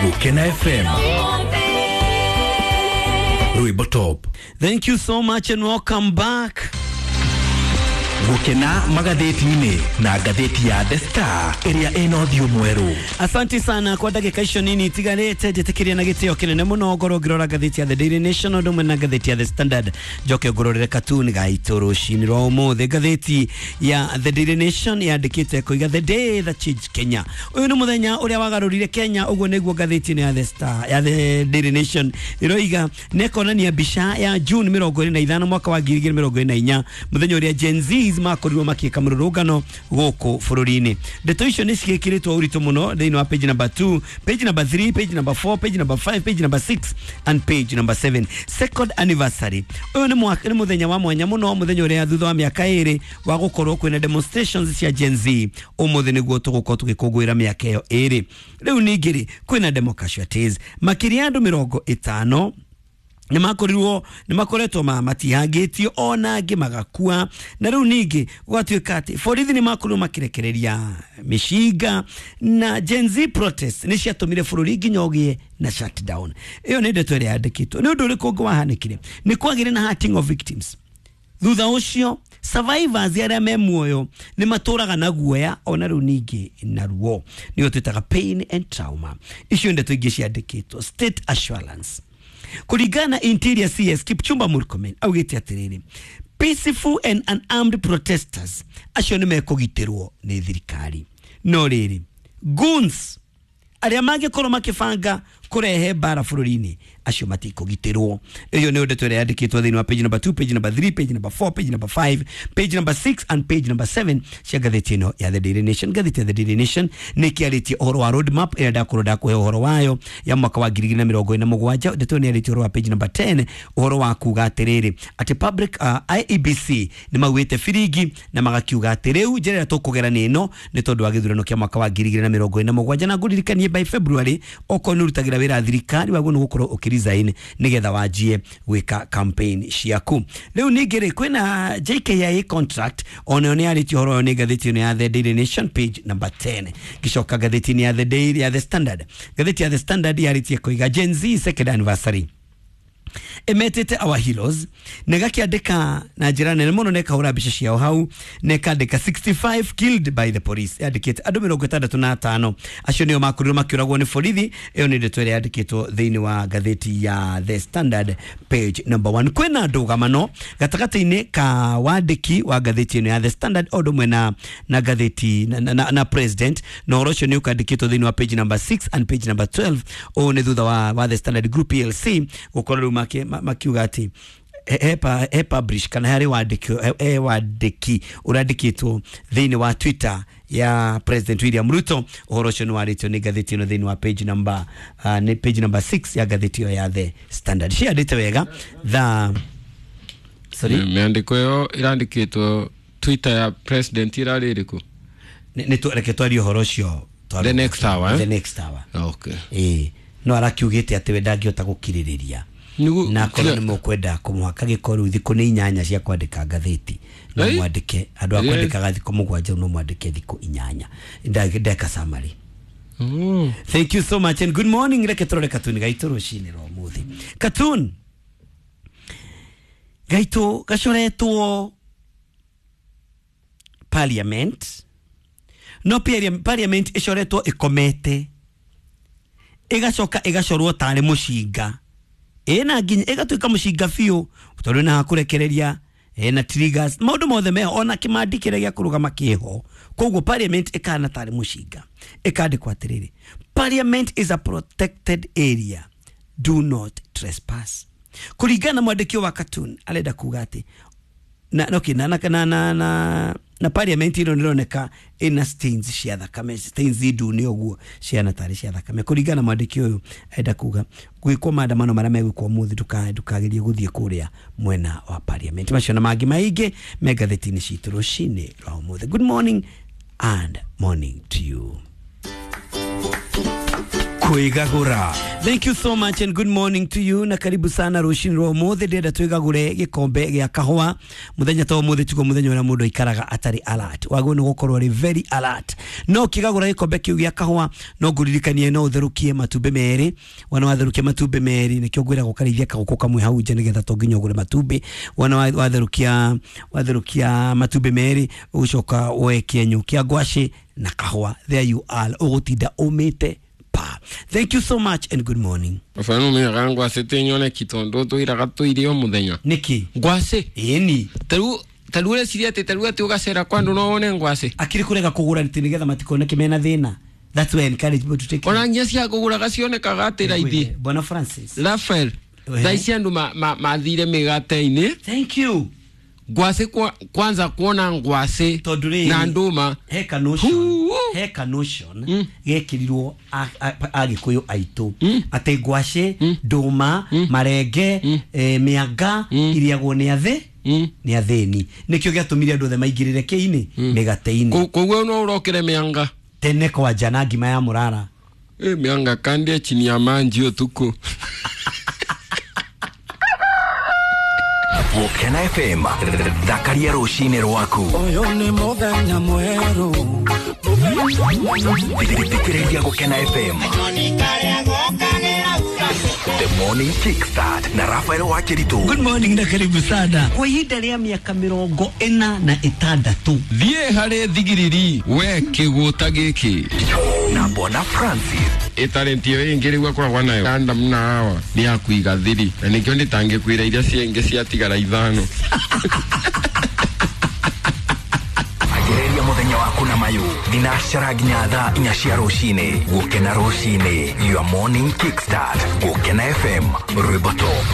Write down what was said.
Gukena FM Rwimbo Top. Thank you so much and welcome back. Gukena magathĩti-inĩ na ngathĩti ya The Star ĩrĩa ĩna ũthiũ mwerũ. Asante sana kwa ndagĩka icio nini itigarĩte, njĩtĩkĩria na gĩtĩo kĩnene mũno ngorwo ngĩrora ngathĩti ya The Daily Nation ũndũ ũmwe na ngathĩti ya The Standard, njoke ngũrorere katuni gaitũ rũcinĩ rwa ũmũthĩ. Ngathĩti ya The Daily Nation yandĩkĩte kũiga The Day That Changed Kenya. Ũyũ nĩ mũthenya ũrĩa wagarũrire Kenya, ũguo nĩguo ngathĩti ĩno ya The Star ya The Daily Nation ĩroiga, na ĩkonania mbica ya June 25 mwaka wa 2024, mũthenya ũrĩa Gen Z makorirwo makĩka mũrũrũngano gũkũ bũrũri-inĩ. Ndeto icio nĩ ciĩkĩrĩtwo ũritũ mũno thĩinĩ wa page number 2, page number 3, page number 4, page number 5, page number 6 and page number 7. Second anniversary. Ũyũ nĩ mũthenya wa mwanya mũno, mũthenya ũrĩa thutha wa mĩaka 2 wa gũkorwo kwĩna demonstrations cia Gen Z, ũmũthĩ nĩguo tũgũkorwo tũgĩkũngũĩra mĩaka ĩyo 2. Rĩu ningĩ rĩ, kwĩna demo casualties makĩria ya andũ 50 nĩmakorirwo nĩmakoretwo matihangĩtio ona angĩ magakua. Na rĩu ningĩ gũgatuĩka atĩ borithi nĩmakorirwo makĩrekereria mĩcinga na Gen Z protest nĩ ciatũmire bũrũri nginya ũgĩe na shutdown. Ĩyo nĩ ndeto ĩrĩa yandĩkĩtwo. Nĩ ũndũ ũrĩkũ ũngĩ wahanĩkire? Nĩ kwagĩire na hurting of victims. Thutha ũcio survivors arĩa me muoyo nĩ matũraga na guoya ona rĩu ningĩ na ruo, nĩyo twĩtaga pain and trauma. Icio ndeto ingĩ ciandĩkĩtwo. State assurance kũringana na Interior CS Kipchumba Murkomen augĩte atĩrĩrĩ, peaceful and unarmed protesters acio nĩ mekũgitĩrwo nĩ thirikari. No rĩrĩ, goons arĩa mangĩkorwo makĩbanga kũrehe mbara bũrũri-inĩ acio matikũgitĩrwo. Ĩyo nĩyo ndeto ĩrĩa yandĩkĩtwo thĩinĩ wa page number 2, page number 3, page number 4, page number 5, page number 6 and page number 7 cia ngathĩti ĩno ya The Daily Nation. Ngathĩti ya The Daily Nation nĩ ĩkĩarĩtie ũhoro wa road map ĩrĩa ndakorwo ndakũhe ũhoro wayo ya mwaka wa 2027. Ndeto ĩyo nĩ yarĩtie ũhoro wa page number 10, ũhoro wa kuga atĩrĩrĩ atĩ public IEBC nĩ maugĩte biringi na magakiuga atĩ rĩu njĩra ĩrĩa tũkũgera nĩ ĩno nĩ tondũ wa gĩthurano kĩa mwaka wa 2027. Na ngũririkanie by February okorwo nĩ ũrutagĩra wĩra thirikari waguo nĩ gũkorwo ũkĩresign nĩgetha wanjie gwĩka campaign ciaku. Rĩu ningĩ rĩ, kwĩna JKIA contract onayo nĩ yarĩtie ũhoro ũyũ nĩ ngathĩti ĩno ya The Daily Nation page number 10. Ngĩcoka ngathĩti-inĩ ya The Daily ya The Standard, ngathĩti ya The Standard yarĩtie kũiga Gen Z second anniversary emetete our heroes, na gakĩandĩka na njĩra nene mũno na ĩkahũra mbica ciao hau na ĩkandĩka 65 killed by the police. Yandĩkĩte andũ 65 acio nĩo makorirwo makĩũragwo nĩ borithi. Ĩyo nĩ ndeto ĩrĩa yandĩkĩtwo thĩinĩ wa ngathĩti ya The Standard page number 1. Kwĩna ndũgamano gatagatĩ-inĩ ka wandĩki wa ngathĩti ĩno ya The Standard o ũndũ ũmwe na ngathĩti na president, na ũhoro ũcio nĩ ũkandĩkĩtwo thĩinĩ wa page number 6 and page number 12. Ũũ nĩ thutha wa The Standard Group PLC gũkorwo rĩu makiuga atĩ he publish kana harĩ wandĩki, he wandĩki ũrandĩkĩtwo thĩinĩ wa Twitter ya President William Ruto. Ũhoro ũcio nĩ warĩtio nĩ ngathĩti ĩno thĩinĩ wa page number nĩ page number 6 ya ngathĩti ĩyo ya The Standard. Ciandĩte wega the sorry. Mĩandĩko ĩyo ĩrandĩkĩtwo Twitter ya president ĩrarĩ ĩrĩkũ? Reke twarie ũhoro ũcio The next hour, eh? The next hour. Okay. Ĩĩ, no arakiugĩte atĩ we ndangĩhota gũkirĩrĩria na akorwo nĩ mũkwenda kũmũhaka gĩko rĩu thikũ nĩ 8 cia kwandĩka ngathĩti, no mwandĩke andũ a kwandĩkaga thikũ 7, no mwandĩke thikũ 8. Ndeka summary. Thank you so much and good morning. Reke tũrore katuni gaitũ rũcinĩ rwa ũmũthĩ. Katun gaitũ gacoretwo parliament, no parliament ĩcoretwo ĩkomete, ĩgacoka ĩgacorwo tarĩ mũcinga, ĩna nginya ĩgatuĩka mũcinga biũ tondũ ĩna hakũrekereria, ĩna triggers, maũndũ mothe meho, ona kĩmandi kĩrĩa gĩa kũrũgama kĩho. Koguo parliament ĩkahana tarĩ mũcinga. Ĩkandĩkwo atĩrĩrĩ, parliament is a protected area, do not trespass. Kũringana na mwandĩki wa cartoon arenda kuga atĩ na okay, na na na na na, na parliament ĩno nĩroneka ĩna stains cia thakame, stains ndune ũguo ciana tarĩ cia thakame. Kũringana na mwandĩki ũyũ arenda kuga gwĩkwo maandamano marĩa megwĩkwo ũmũthĩ, ndũkagerie gũthiĩ kũrĩa mwena wa parliament. Macio na mangĩ maingĩ me ngathĩti-inĩ citũ rũcinĩ rwa ũmũthĩ. Good morning and morning to you. Kwĩgagũra. Thank you so much and good morning to you, na karibu sana rucini rwa umuthi. Ndĩrenda twĩgagũre gĩkombe gĩa kahũa. Mũthenya ta ũmũthĩ tiguo mũthenya ũrĩa mũndũ aikaraga atarĩ alert, wagwo nĩ gũkorwo arĩ very alert. No ũkĩgagũra gĩkombe kĩu gĩa kahũa, no ngũririkanie no ũtherũkie matumbĩ merĩ. Wona watherũkia matumbĩ merĩ, nĩkĩo ngwĩraga ũkarĩithia kagũkũ kamwe hau nja, nĩgetha to nginya ũgũre matumbĩ. Wona watherũkia matumbĩ merĩ, ũgũcoka woe kĩenyũ kĩa ngwacĩ na kahũa. There you are, ũgũtinda ũmĩte pa. Thank you so much and good morning. Baba, nä ngwacä tä nyoneki tondå tå iraga tå irio må thenya. Nĩkĩ? Ngwacä. Ĩni. Tarä u reciria atä tarä u atä å gacera kwa andå no wone ngwacä. Akiri kurega kũgũra nĩ nĩgetha matikoneke mena thĩna. That's why I encourage people to take. Ona nginya cia kå gå raga cionekaga atä raithi. Bwana Francis. Rafael, Ehe. thaa ici andå mathire mä gate-inä. Thank you. Ngwacä kwanza kuona ngwacä Tondũ rĩrĩ, na ndũma. he ka notion Huu. He ka notion gekĩrirwo agĩkũyũ aitũ atĩ ngwacĩ, ndũma, marenge, mĩanga iriagwo nĩ athĩ nĩ athĩni. Nĩkĩo gĩatũmire andũ othe maingĩrĩre kĩinĩ mĩgate-inĩ. Koguo no å rokere mä anga. Tene kwanja na ngima ya mũrara. Mä anga kandie chini ya manji å tukå. Gũkena FM, thakaria rũcinĩ rwaku. Ũyũ nĩ mũthenya mwerũ. Thikĩrĩria Gũkena FM. The Morning Kickstart na Rafael Wakĩritũ. Good morning na karibu sana. Kwa ihinda rĩa mĩaka 46. Thiä harä thigiriri we kä gå ta gä kä. Na Bwana Francis. Ä ä yo ä ngä rä u akoragwo nayo Adam na Hawa nä ya kuiga thiri, na nä kä o ndä tangä kwä ra iria ciengä ciatigara ithano. Anjĩrĩria mũthenya waku na mayũ thinacara nginya thaa 4 cia rũcinĩ. Gũkena rũcinĩ, your morning kickstart. Gũkena FM, rwĩmbo top.